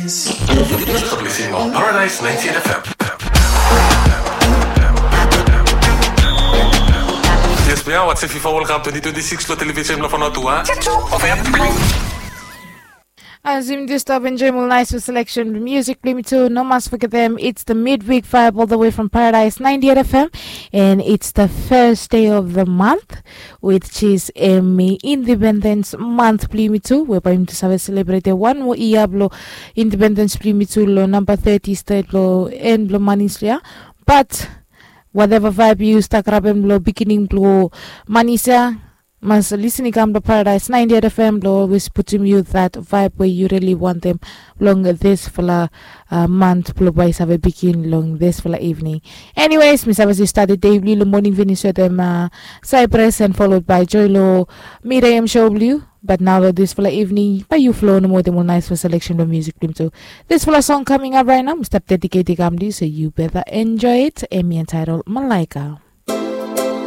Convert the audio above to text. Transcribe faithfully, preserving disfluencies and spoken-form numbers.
You're listening on Paradise ninety-eight F M. Yes, we are watching FIFA World Cup twenty twenty-six lo television blo Vanuatu. Azim, just stop enjoy more nice selection music blo yumi tu. No mas forget them. It's the midweek vibe all the way from Paradise ninety-eight F M, and it's the first day of the month, which is a Independence Month blo yumi tu, whereby yumi tu save celebrate one more year blo independence blo yumi tu lo number thirty state blo en blo manis ya. But whatever vibe yu start grab en blo beginning blo manis ya, mas listening kam to Paradise ninety-eight F M blo always putum yu that vibe where you really want them long this fala uh, month blo bai save begin long this fala evening. Anyways, mi save si start the day blo lo morning finish with them uh, Cypress and followed by Joy lo Miriam show blo. But now lo this fala evening, by you flow no more the more nice for selection of music blo yumi tu. This fala song coming up right now, mi start dedicating kam to you, so you better enjoy it. Emi entitled Malaika.